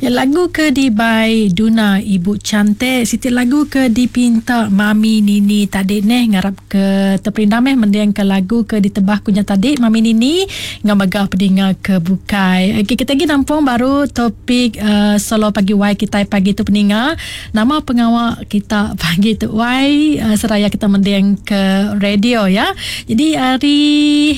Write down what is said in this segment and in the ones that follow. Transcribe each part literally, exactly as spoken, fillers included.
Ya, lagu ke dibai Duna Ibu Cantik, siti lagu ke dipinta Mami Nini tadi neh, ngarap ke terperindang meh mending ke lagu ke ditebah ku nya tadi Mami Nini ngau mega pedinga ke bukai. Okey, kita lagi nampung baru topik uh, solo pagi Y kita pagi tu peninga. Nama pengawa kita pagi tu Y uh, seraya kita mending ke radio ya. Jadi hari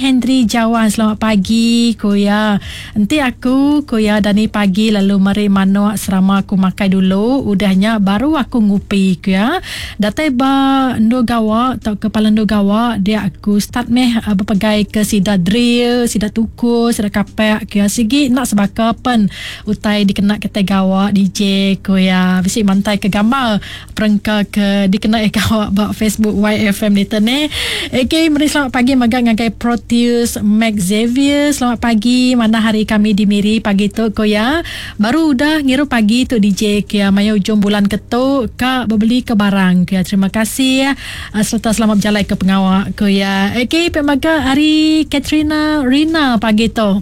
Henry Jawan, selamat pagi ku ya. Enti aku ku ya dani pagi lalu meri manuk serama aku makai dulu, udahnya baru aku ngupi ku ya. Datai ba endur gawa atau ke palan endur gawa dia aku start meh uh, berpegai ke sida drill, sida tukur, sida kapak ku ya. Sigi nak sebaka pen utai dikena kita gawa D J ku ya. Bisi mantai ke gambar perengka ke dikena gawa ba Facebook Y F M ni ne. Okey, meri selamat pagi mega ngagai Proteus Max Xavier. Selamat pagi, mana hari kami di Miri pagi tu ku ya. Baru udah ngiru pagi tu D J kia maya ujung bulan ketu ka bebeli ke barang kia. Terima kasih uh, serta selamat berjalan ke pengawak ku ya. Okey, pe mega hari Katrina Rina pagi tu.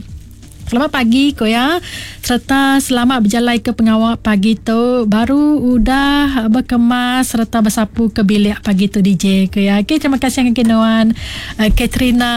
Selamat pagi ko ya. Serta selamat berjalan ke pengawak pagi tu. Baru udah berkemas serta bersapu ke bilik pagi tu D J ko ya. Okey, terima kasih ngagai nuan uh, Katrina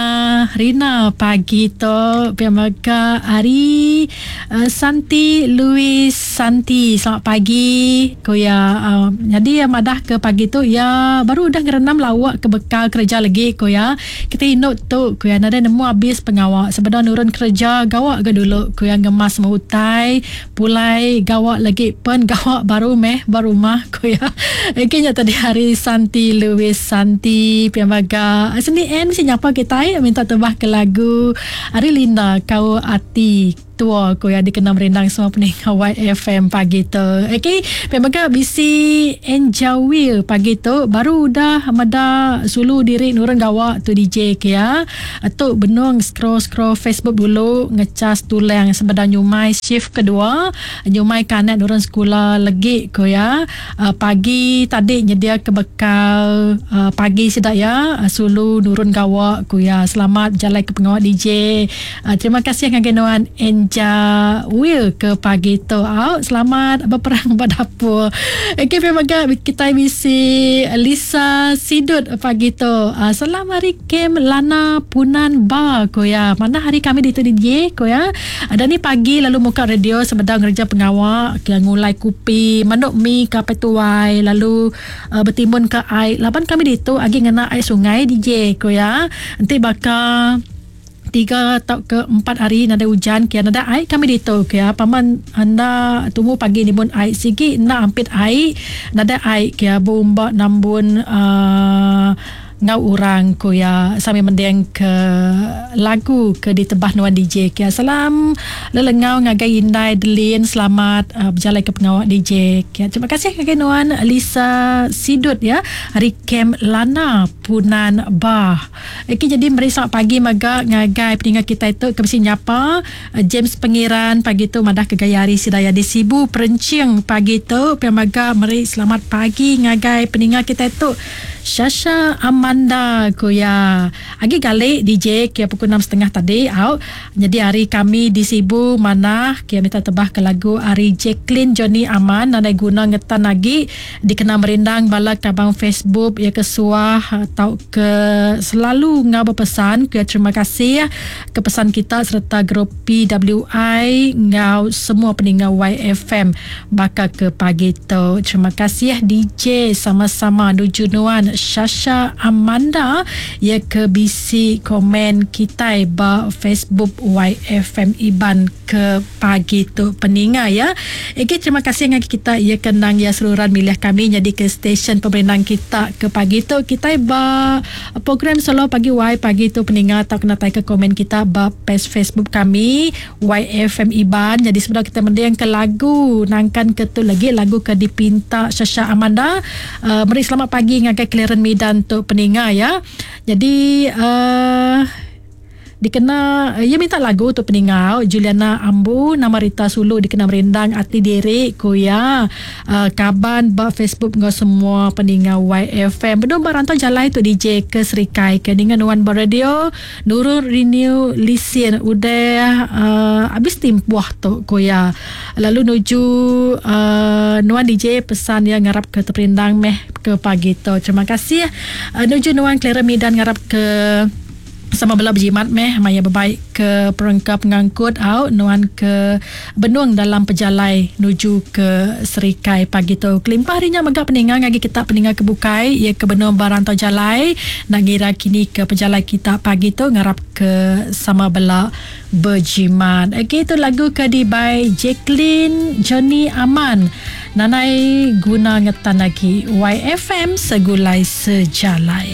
Rina pagi tu. Pia mega hari uh, Santi Louis Santi, selamat pagi ko ya. Uh, jadi ya madah ke pagi tu ya baru udah ngerenam lawak ke bekal kerja lagi ko ya. Kita inuk tu ko ya, nadai nemu habis pengawak sebedau nurun kerja gawak ke dulu ku yang ngemas utai pulai gawak lagi pen gawak baru meh baru rumah ku ya. Okey, nya tadi hari Santi Louis Santi piamaga seni en mesti nyapa kita minta tebah ke lagu Ari Linda Kau Ati Tua ku ya, dikena merindang semua pendengar Y F M pagi tu. Okey, piamaga bisi Enjawil pagi tu baru udah meda sulu diri nurun gawak tu D J ke ya. Tu benung scroll-scroll Facebook dulu ngecas tulang sebedau nyumai shift kedua nyumai kanak nurun sekolah legi ko ya. Uh, pagi tadi nyedia ke bekal uh, pagi sedak ya uh, sulu nurun gawak ko ya. Selamat jalan ke pengawak D J. Uh, terima kasih ngagai nuan Enjawil ke pagi tu. Out selamat berperang pada dapur. Okey, memang kita misi Lisa Sidut pagi tu. Uh, selamat hari Kem Lana Punan Ba ko ya. Mana hari kami di tu D J ko ya. Ada ni pagi lalu muka radio sebedang ngerja pengawak ke ngulai kupi manuk mi ka petuai lalu uh, bertimbun ke air. Laban kami di tu agi ngena air sungai D J ko ya. Nanti bakal tiga atau ke empat hari nada hujan kia nada air kami ditu kia paman anda tunggu pagi ni pun air sigi nak ampit air nada air kia bomba nambun uh, ngau orang ko ya sambil mendeng ke lagu ke ditebah nuan D J kia. Salam lelengau ngagai Indai Delin, selamat uh, berjalan ke pengawak D J kia. Terima kasih ngagai nuan Lisa Sidut ya hari Kem Lana Punan Bah. Okey, jadi meri selamat pagi mega ngagai pendengar kita itu ke besi nyapa James Pengiran pagi tu madah ke gaya hari Sidaya di Sibu Perencing pagi tu. Pia mega meri selamat pagi ngagai pendengar kita itu Shasha Amanda ko ya. Agi galik D J kia pukul enam setengah tadi au. Jadi hari kami di Sibu mana kia minta tebah ke lagu hari Jacqueline Johnny Aman nadai guna ngetan lagi dikena merindang bala kabang Facebook ya ke suah atau ke selalu ngau berpesan kia. Terima kasih ke pesan kita serta grup P W I ngau semua pendengar Y F M bakal ke pagi tu. Terima kasih D J sama-sama nuju nuan Shasha Amanda ya ke B C komen kita ba Facebook Y F M Iban ke pagi tu peninga ya. Okey, terima kasih dengan kita ya kenang ya seluruhan milih kami jadi ke stesen pemerintah kita ke pagi tu kita ba program solo pagi Y pagi tu peninga atau kena tai ke komen kita ba page Facebook kami Y F M Iban. Jadi sebelum kita mending ke lagu nangkan ke tu lagi lagu ke dipinta Shasha Amanda. Uh, meri selamat pagi ngagai Clearance Medan tu peninga ya. Jadi uh, Dikena iya minta lagu tu peningau Juliana Ambu nama Rita Sulu dikena merindang ati diri ku iya. Uh, kaban ba Facebook enggau semua peningau Y F M. Benung ba rantau jalai tu D J ke Serikai ke ninga nuan ba radio nurun renew lisin udah uh, habis timpuh tu ku iya. Lalu nuju uh, nuan D J pesan iya ngarap ke terperindang meh ke pagi tu. Terima kasih. Uh, nuju nuan Clara Midan ngarap ke sama bela berjimat meh maya berbaik ke perengka pengangkut au nuan ke benung dalam pejalai nuju ke Serikai pagi tu. Kelimpah hari nya mega peninga ngagi kita peninga ke bukai ia ke benung barang tau jalai nak ngira kini ke pejalai kita pagi tu ngarap ke sama bela berjimat. Okey, itu lagu ke di by Jacqueline Johnny Aman. Nanai guna ngetan lagi. Y F M segulai sejalai.